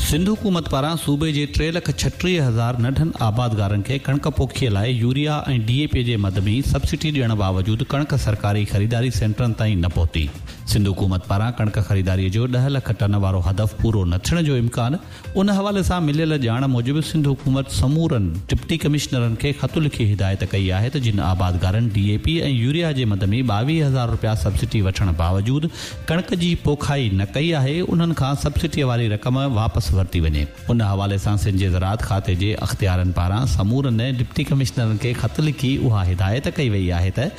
سنڌ حڪومت پاران صوبي جي ٽي لک 36 هزار ننڍن آبادگارن کي ڪڻڪ پوکيء لاء يوريا ۽ ڊي اي پي جي مد ۾ سبسڊي ڏيڻ باوجود ڪڻڪ سرڪاري خريداري سينٽرن تائين نه پهتي. سنڌ حڪومت پاران ڪڻڪ خريداري جو ڏهه لک ٽن وارو هدف پورو نه ٿيڻ جو امڪان، ان حوالي سان مليل ڄاڻ موجب سنڌ حڪومت سمورن ڊپٽي ڪمشنرن کي خط لکي هدايت ڪئي آهي ته جن آبادگارن ڊي اي پي ۽ يوريا جي مد ۾ 22 هزار رپيا سبسڊي وٺڻ باوجود ڪڻڪ جي پوکائي نه ڪئي آهي انهن کان سبسڊي واري رقم واپس ورتي وڃي. ان حوالي سان سنڌ جي زراعت کاتي جي اختيارين پاران سمورن ڊپٽي ڪمشنرن کي خط لکي اها هدايت ڪئي وئي آهي ته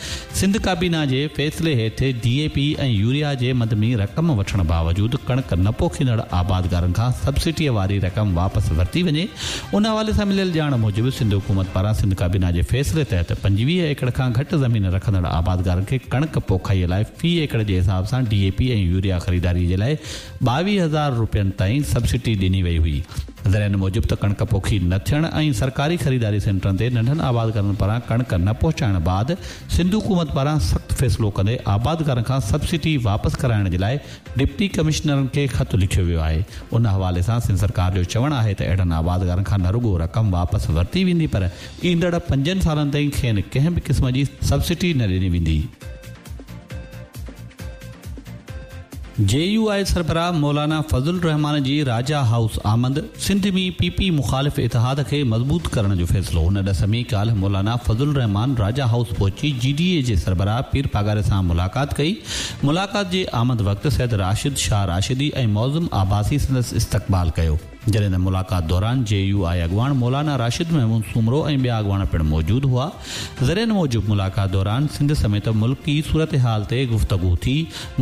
سنڌ ڪابينا جي فيصلي هيٺ ڊي اي پي ۽ يوريا جي مد ۾ رقم وٺڻ باوجود ڪڻڪ نه پوکيندڙ آبادگارن کان سبسڊيء واري رقم واپس ورتي وڃي. ان حوالي سان مليل ڄاڻ موجب سنڌ حڪومت پاران سنڌ ڪابينا جي فيصلي تحت 25 ايڪڙ کان گهٽ زمين رکندڙ آبادگارن کي ڪڻڪ پوکائي لاء في ايڪڙ جي حساب سان ڊي اي پي ۽ يوريا خريداري جي لاء 22 هزار رپين تائين سبسڊي ڏني وئي هئي. ذريعن موجب ته ڪڻڪ پوکي نه ٿيڻ ۽ سرڪاري خريداري سينٽرن تي ننڍن آبادگارن پاران ڪڻڪ نه پهچائڻ بعد سنڌ حڪومت پاران سخت فيصلو ڪندي آبادگارن کان سبسڊي واپس ڪرائڻ جي لاء ڊپٽي ڪمشنرن کي خط لکيو ويو آهي. ان حوالي سان سنڌ سرڪار جو چوڻ آهي ته اهڙن آبادگارن کان نه رڳو رقم واپس ورتي ويندي پر ايندڙ پنجن سالن تائين کين ڪنهن به قسم جي سبسڊي نه ڏني ويندي. جي يو آء سربراهه مولانا فضل الرحمان جي راجا هائوس آمد، سنڌ ۾ پي پي مخالف اتحاد کي مضبوط ڪرڻ جو فيصلو، ان ڏس ۾ ڪالهه مولانا فضل الرحمان راجا هائوس پهچي جي ڊي اي جي سربراهه پير پاڳاري سان ملاقات ڪئي، ملاقات جي آمد وقت سيد راشد شاهه راشدي ۽ معظم عباسي سندس استقبال ڪيو. جڏهن ته ملاقات دوران جي يو آء اڳواڻ مولانا راشد محمود سومرو ۽ ٻيا اڳواڻ پڻ موجود هئا. ذريعن موجب ملاقات دوران سنڌ سميت ملڪي صورتحال تي گفتگو ٿي.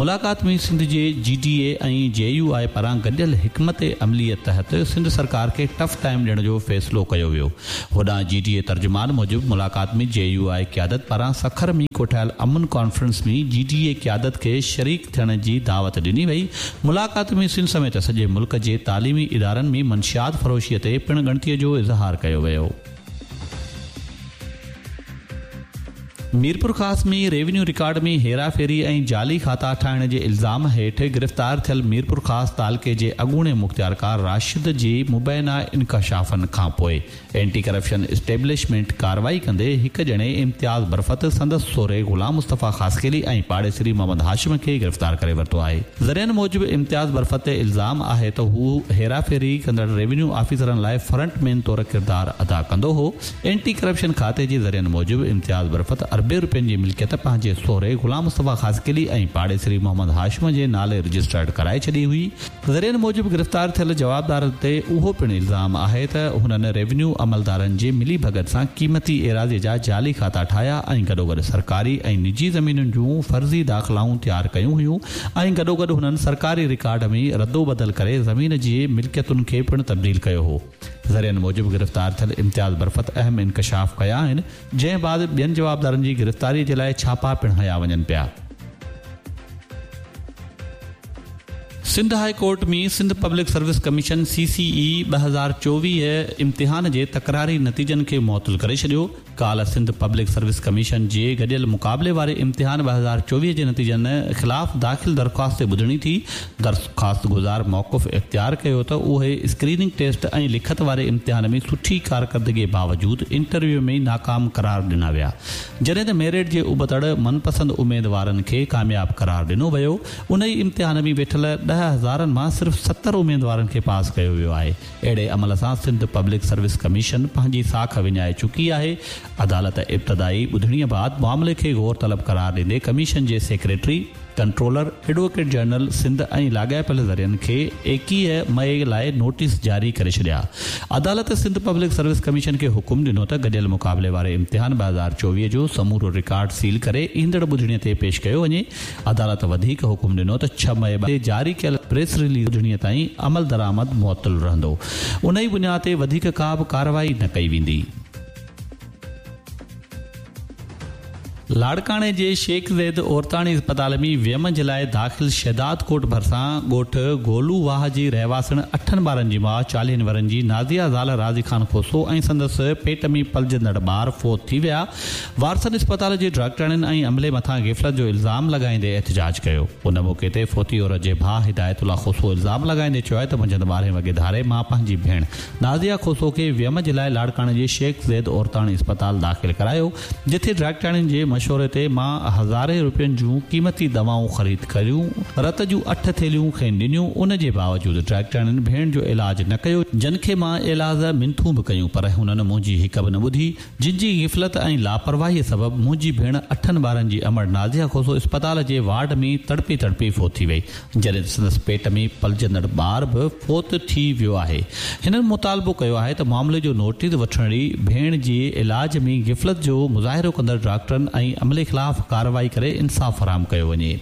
ملاقات ۾ سنڌ جي جي ڊي اي ۽ جي يو آء پاران گڏيل حڪمت عملي تحت سنڌ سرڪار کي ٽف ٽائيم ڏيڻ جو فيصلو ڪيو ويو. هوڏانهن جي ڊي اي ترجمان موجب ملاقات ۾ جي يو آء قيادت پاران سکر ۾ ڪوٺايل امن ڪانفرنس ۾ جي ڊي اي قيادت کي شريڪ ٿيڻ جي دعوت ڏني وئي. ملاقات ۾ سنڌ سميت سڄي ملڪ جي تعليمي ادارن ۾ منشيات فروشي تي پڻ ڳڻتي جو اظهار ڪيو ويو. ميرپورخاص ۾ ريونيو رڪارڊ ۾ هيراڦيري ۽ جعلي کاتا ٺاهڻ جي الزام هيٺ گرفتار ٿيل ميرپورخاص تعلقي جي اڳوڻي مختيارڪار راشد جي مبينا انڪشافن کانپوء اينٽي ڪرپشن اسٽيبلشمينٽ ڪارروائي ڪندي هڪ ڄڻي امتياز برفت، سندس سهري غلام مصطفيٰ خاصخيلي ۽ پاڙيسري محمد هاشم کي گرفتار ڪري ورتو آهي. ذريعن موجب امتياز برفت تي الزام آهي ته هو هيراڦيري ڪندڙ ريونيو آفيسرن لاء فرنٽ مين طور ڪردار ادا ڪندو هو. اينٽي ڪرپشن کاتي جي ذريعن موجب امتياز برفت اربين روپين جي ملڪيت پنهنجي سهري غلام مصطفيٰ خاصخيلي ۽ پاڙيسري محمد هاشم جي نالي رجسٽرڊ ڪرائي ڇڏي هئي. ذريعن موجب گرفتار ٿيل جوابدارن تي اهو پڻ الزام آهي ته هنن ريونيو عملدارن جي ملي ڀڳت سان قيمتي ايراضي جا جعلي کاتا ٺاهيا ۽ گڏوگڏ سرڪاري ۽ نجي زمينن جون فرضي داخلائون تيار ڪيون هيون ۽ گڏوگڏ هنن سرڪاري رڪارڊ ۾ ردوبدل ڪري زمين جي ملڪيتن کي پڻ تبديل ڪيو هو. ذريعن موجب گرفتار ٿيل امتياز برفت اهم انڪشاف ڪيا آهن جنهن بعد ٻين جوابدارن جي گرفتاري جي لاء ڇاپا پڻ هنيا وڃن پيا. Sindh high court ۾ Sindh public service commission, C C اي، 2024 امتحان جي تڪراري نتيجن کي معطل ڪري ڇڏيو. ڪالهه سنڌ پبلڪ سروس ڪميشن جي گڏيل مقابلي واري امتحان 2024 جي نتيجن خلاف داخل درخواست تي ٻڌڻي ٿي. درخواستگذار موقف اختيار ڪيو ته اهي اسڪريننگ ٽيسٽ ۽ لکت واري امتحان ۾ سٺي ڪارڪردگي باوجود انٽرويو ۾ ناڪام قرار ڏنا ويا. جڏهن ته ميرٽ جي ابتڙ من پسند اميدوارن کي ڪامياب قرار ڏنو ويو، انهي امتحان ۾ ويٺل ڏهه هزارن مان صرف 70 اميدوارن کي پاس ڪيو ويو آهي، اهڙي عمل سان سنڌ پبلڪ سروس ڪميشن پنهنجي ساک وڃائي چڪي آهي، عدالت ابتدائي ٻڌڻي بعد معاملي کي غور طلب قرار ڏيندي ڪميشن جي secretary, controller, advocate general Sindh ۽ لاڳاپيل ذريعن کي 21 مئي لاء نوٽيس جاري ڪري ڇڏيا. عدالت سنڌ پبلڪ سروس ڪميشن کي حڪم ڏنو ته گڏيل مقابلي واري امتحان 2024 جو سمورو رڪارڊ سيل ڪري ايندڙ ٻڌڻي تي پيش ڪيو وڃي. عدالت وڌيڪ حڪم ڏنو ته ڇهه مئي تي جاري ڪيل پريس رليز ٻڌڻي تائين عملدرآمد معطل رهندو. انهي بنياد تي وڌيڪ ڪا به ڪارروائي نه ڪئي ويندي. لاڙڪاڻي جي شيخ زيد عورتاڻي اسپتال ۾ ويم جي لاء داخل شهداد ڪوٽ ڀرسان ڳوٺ گولو واهه جي رهواسڻ اٺن ٻارن جي ماء چاليهن ورهين جي نازيه زال راضي خان کوسو ۽ سندس پيٽ ۾ پلجندڙ ٻار فوت ٿي ويا، وارثن اسپتال جي ڊاڪٽرياڻين ۽ عملي مٿان غفلت جو الزام لڳائيندي احتجاج ڪيو. ان موقعي تي فوتي عورت جي ڀاء هدايت الله کوسو الزام لڳائيندي چيو آهي ته منجهند ٻارهين وڳي ڌاري مان پنهنجي ڀيڻ نازيه کوسو کي ويم جي لاء لاڙڪاڻي جي شيخ زيد عورتاڻي اسپتال داخل ڪرايو، جتي ڊاڪٽرياڻين جي مشوري تي مان هزارين روپين جون قيمتي دوائون خريد ڪريون، رت جون اٺ ٿيلهيون کين ڏنيون، ان جي باوجود ڊاڪٽرياڻين ڀيڻ جو علاج نه ڪيو، جن کي مان ايلاز منٿون به ڪيون پر هنن منهنجي هڪ به نه ٻڌي، جن جي غفلت ۽ لاپرواهيء سبب منهنجي ڀيڻ اٺن ٻارن جي امڙ نازيه کوسو اسپتال جي وارڊ ۾ تڙپي تڙپي فوت ٿي وئي. جڏهن ته سندس پيٽ ۾ پلجندڙ ٻار به فوت ٿي ويو آهي. هنن مطالبو ڪيو آهي ته معاملي جو نوٽيس وٺڻي ڀيڻ جي علاج ۾ غفلت جو مظاهرو ڪندڙ ڊاڪٽرن ۽ عملي خلاف ڪارروائي ڪري انصاف فراهم ڪيو وڃي.